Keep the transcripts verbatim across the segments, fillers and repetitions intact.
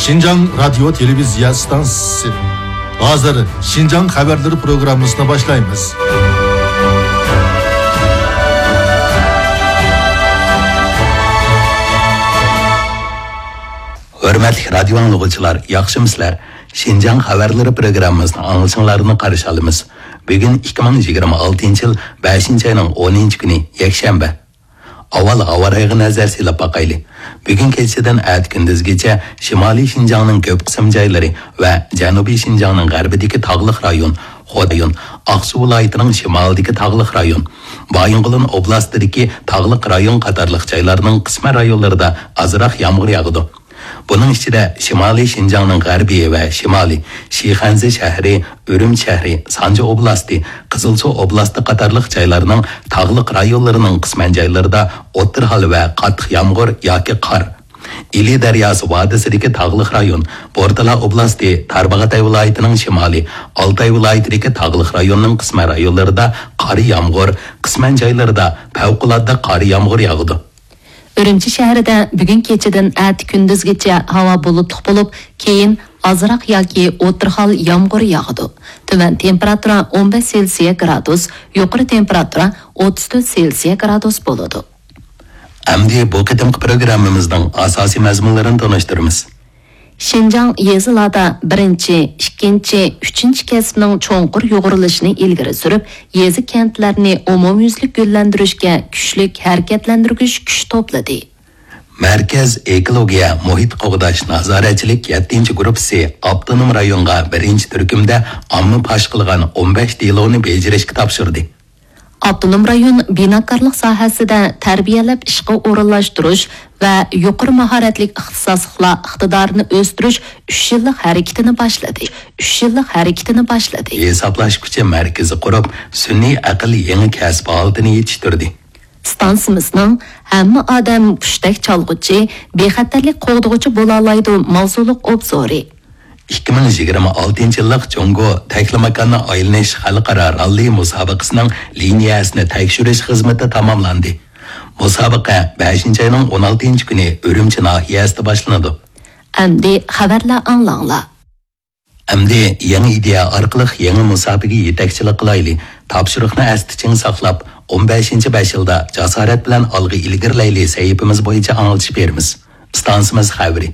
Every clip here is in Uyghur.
شىنجاڭ رادىيو تېلېۋىزىيە ئىستانسىسى. ھازىر شىنجاڭ خەۋەرلىرى پروگراممىسىنى باشلايمىز. ھۆرمەتلىك رادىيو ئاڭلىغۇچىلار، ياخشىمۇسىلەر؟ شىنجاڭ خەۋەرلىرى پروگراممىسىنى ئاڭلىشىڭلارنى قارشى ئالىمىز. بۈگۈن ئىككى مىڭ يىگىرمە ئالتىنچى يىل بەشىنچى ئاينىڭ ئونىنچى كۈنى، يەكشەنبە. ئاۋۋال ھاۋا رايىغا نەزەر سېلىپ باقايلى. بۈگۈن كېچىدىن ئەتە كۈندۈزگىچە شىمالىي شىنجاڭنىڭ كۆپ قىسىم جايلىرى ۋە جەنۇبىي شىنجاڭنىڭ غەربىدىكى تاغلىق رايون، خو رايون، ئاقسۇ ۋىلايىتىنىڭ شىمالىدىكى تاغلىق رايون، بايىنغولىن ئوبلاستىدىكى تاغلىق رايون قاتارلىق جايلارنىڭ قىسمەن رايونلىرىدا ئازراق يامغۇر ياغىدۇ. بۇنىڭ ئىچىدە شىمالىي شىنجاڭنىڭ غەربىي ۋە شىمالىي، شىخەنزە شەھىرى، ئۈرۈمچى شەھىرى، سانجى ئوبلاستى، قىزىلسۇ ئوبلاستى قاتارلىق جايلارنىڭ تاغلىق رايونلىرىنىڭ قىسمەن جايلىرىدا ئوتتۇرا ھال ۋە قاتتىق يامغۇر ياكى قار، ئىلى دەرياسى ۋادىسىدىكى تاغلىق رايون، بورتالا ئوبلاستى، تارباغاتاي ۋىلايىتىنىڭ شىمالى، ئالتاي ۋىلايىتىدىكى تاغلىق رايوننىڭ قىسمەن رايونلىرىدا قارا يامغۇر، قىسمەن جايلىرىدا پەۋقۇلئاددە قارا يامغۇر ياغىدۇ. ئۈرۈمچى شەھىرىدە بۈگۈن كېچىدىن ئەتە كۈندۈزگىچە ھاۋا بۇلۇتلۇق بولۇپ، كېيىن ئازراق ياكى ئوتتۇرا ھال يامغۇر ياغىدۇ. تۆۋەن تېمپېراتۇرا ئون بەش سېلسىيە گرادۇس، يۇقىرى تېمپېراتۇرا ئوتتۇز تۆت سېلسىيە گرادۇس بولىدۇ. ئەمدى بۇ قېتىمقى پروگراممىمىزنىڭ ئاساسىي مەزمۇنلىرىنى تونۇشتۇرىمىز. شىنجاڭ يېزىلاردا بىرىنچى، ئىككىنچى، ئۈچىنچى كەسىپنىڭ چوڭقۇر يۇغۇرۇلۇشىنى ئىلگىرى سۈرۈپ، يېزا، كەنتلەرنى ئومۇميۈزلۈك گۈللەندۈرۈشكە كۈچلۈك ھەرىكەتلەندۈرگۈچ كۈچ توپلىدى. مەركەز ئېكولوگىيە مۇھىت قوغداش نازارەتچىلىك يەتتىنچى گۇرۇپپىسى ئاپتونوم رايونغا بىرىنچى تۈركۈمدە ئامما پاش قىلغان ئون بەش دېلونى بېجىرىشكە تاپشۇردى. ئاپتونوم رايون بىناكارلىق ساھەسىدە تەربىيەلەپ ئىشقا ئورۇنلاشتۇرۇش ۋە يۇقىرى ماھارەتلىك ئىختىساسلىقلار ئىقتىدارىنى ئۆستۈرۈش ئۈچ يىللىق ھەرىكىتىنى باشلىدى. ئۈچ يىللىق ھەرىكىتىنى باشلىدى. ھېسابلاش كۈچى مەركىزى قۇرۇپ، سۈنئىي ئەقىل يېڭى كەسىپ ھالىتىنى يېتىشتۈردى. ئىستانسىمىزنىڭ ھەممە ئادەم پۇشتەك چالغۇچى، بىخەتەرلىك قوغدىغۇچى بولالايدۇ ماۋزۇلۇق ئوبزورى. ئىككى مىڭ يىگىرمە ئالتىنچى يىللىق جۇڭگو تەكلىماكاننى ئايلىنىش خەلقئارا راللى مۇسابىقىسىنىڭ لىنىيەسىنى تەكشۈرۈش خىزمىتى تاماملاندى. مۇسابىقە بەشىنچى ئاينىڭ ئون ئالتىنچى كۈنى ئۈرۈمچى ناھىيەسىدە باشلىنىدۇ. ئەمدى خەۋەرلەر ئاڭلاڭلار. ئەمدى يېڭى ئىدىيە ئارقىلىق يېڭى مۇساپىگە يېتەكچىلىك قىلايلى. تاپشۇرۇقنى ئەستە چىڭ ساقلاپ، ئون بەشىنچى بەش يىلدا جاسارەت بىلەن ئالغا ئىلگىرىلەيلى سەھىپىمىز بويىچە ئاڭلىتىش بېرىمىز. ئىستانسىمىز خەۋىرى.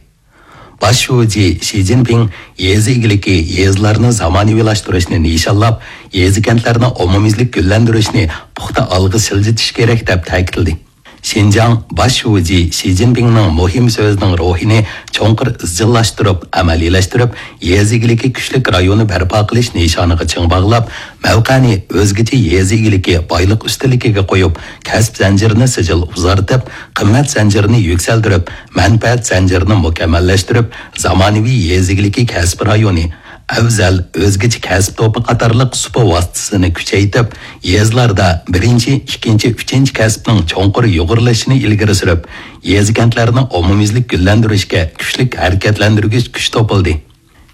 باش شۇجى شى جىنپىڭ يېزا ئىگىلىكى، يېزىلارنى زامانىۋىلاشتۇرۇشنى نىشانلاپ، يېزا، كەنتلەرنى ئومۇميۈزلۈك گۈللەندۈرۈشنى پۇختا ئالغا سىلجىتىش كېرەك، دەپ تەكىتلىدى. شىنجاڭ باش شۇجى شى جىنپىڭنىڭ مۇھىم سۆزىنىڭ روھىنى چوڭقۇر ئىزچىللاشتۇرۇپ، ئەمەلىيلەشتۈرۈپ، يېزا ئىگىلىكى كۈچلۈك رايونى بەرپا قىلىش نىشانىغا چىڭ باغلاپ، مەۋقەنى ئۆزگىچە يېزا ئىگىلىكى بايلىق ئۈستۈنلۈكىگە قويۇپ، كەسىپ زەنجىرىنى سىجىل ئۇزارتىپ، قىممەت زەنجىرىنى يۈكسەلدۈرۈپ، مەنپەئەت زەنجىرىنى مۇكەممەللەشتۈرۈپ، زامانىۋى يېزا ئىگىلىكى كەسپى رايونى، ئەۋزەل، ئۆزگىچە كەسىپ توپى قاتارلىق سۇپا ۋاسىتىسىنى كۈچەيتىپ، يېزىلاردا بىرىنچى، ئىككىنچى، ئۈچىنچى كەسىپنىڭ چوڭقۇر يۇغۇرۇلۇشىنى ئىلگىرى سۈرۈپ، يېزا، كەنتلەرنى ئومۇميۈزلۈك گۈللەندۈرۈشكە كۈچلۈك ھەرىكەتلەندۈرگۈچ كۈچ توپلىدى.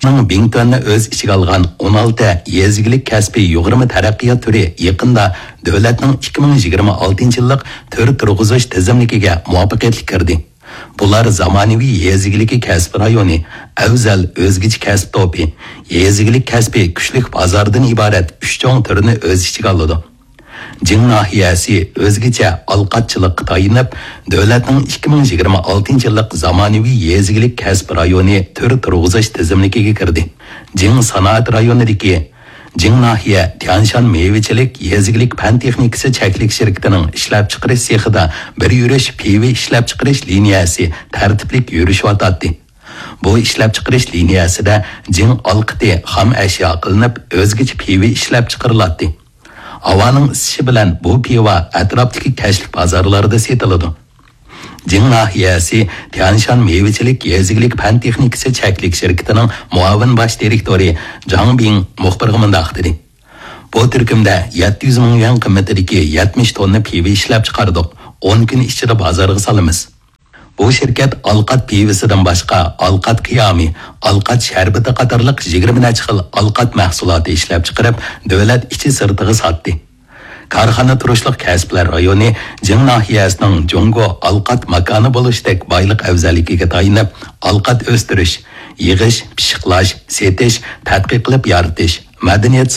شىنجاڭ بىڭتۈەننى ئۆز ئىچىگە ئالغان ئون ئالتە يېزا ئىگىلىك كەسپى يۇغۇرما تەرەققىيات تۈرى يېقىندا دۆلەتنىڭ ئىككى مىڭ يىگىرمە ئالتىنچى يىللىق تۈر تۇرغۇزۇش تىزىملىكىگە مۇۋەپپەقىيەتلىك كىردى. بۇلار زامانىۋى يېزا ئىگىلىكى كەسپى رايونى، ئەۋزەل ئۆزگىچە كەسىپ توپى، يېزا ئىگىلىك كەسپى كۈچلۈك بازاردىن ئىبارەت ئۈچ چوڭ تۈرنى ئۆز ئىچىگە ئالىدۇ. جىڭ ناھىيەسى ئۆزگىچە ئالقاتچىلىققا تايىنىپ، دۆلەتنىڭ ئىككى مىڭ يىگىرمە ئالتىنچى يىللىق زامانىۋى يېزا ئىگىلىك كەسپى رايونى تۈر تۇرغۇزۇش تىزىملىكىگە كىردى. جىڭ سانائەت رايونىدىكى جىڭ ناھىيە تيەنشان مېۋىچىلىك يېزا ئىگىلىك پەن تېخنىكىسى چەكلىك شىركىتىنىڭ ئىشلەپچىقىرىش سېخىدا بىر يۈرۈش پىۋا ئىشلەپچىقىرىش لىنىيەسى تەرتىپلىك يۈرۈشۈۋاتاتتى. بۇ ئىشلەپچىقىرىش لىنىيەسىدە جىڭ ئالقىتى خام ئەشيا قىلىنىپ، ئۆزگىچە پىۋا ئىشلەپچىقىرىلاتتى. ھاۋانىڭ ئىسسىشى بىلەن بۇ پىۋا ئەتراپتىكى كەچلىك بازارلاردا سېتىلىدۇ. جىڭ ناھىيەسى تيەنشان مېۋىچىلىك يېزا ئىگىلىك پەن تېخنىكىسى چەكلىك شىركىتىنىڭ مۇئاۋىن باش دىرېكتورى جاڭ بىڭ مۇخبىرغا مۇنداق دېدى: بۇ تۈركۈمدە يەتتە يۈز مىڭ يۈەن قىممىتىدىكى يەتمىش توننا پىۋا ئىشلەپچىقاردۇق. ئون كۈن ئىچىدە بازارغا سالىمىز. بۇ شىركەت ئالقات پىۋىسىدىن باشقا، ئالقات قىيامى، ئالقات شەربىتى قاتارلىق يىگىرمە نەچچە خىل ئالقات مەھسۇلاتى ئىشلەپچىقىرىپ، دۆلەت ئىچى سىرتىغا ساتتى. كارخانا تۇرۇشلۇق كەسىپلەر رايونى جىڭ ناھىيەسىنىڭ جۇڭگو ئالقات ماكانى بولۇشتەك بايلىق ئەۋزەللىكىگە تايىنىپ، ئالقات ئۆستۈرۈش، يىغىش، پىششىقلاش، سېتىش، تەتقىق قىلىپ يارىتىش، مەدەنىيەت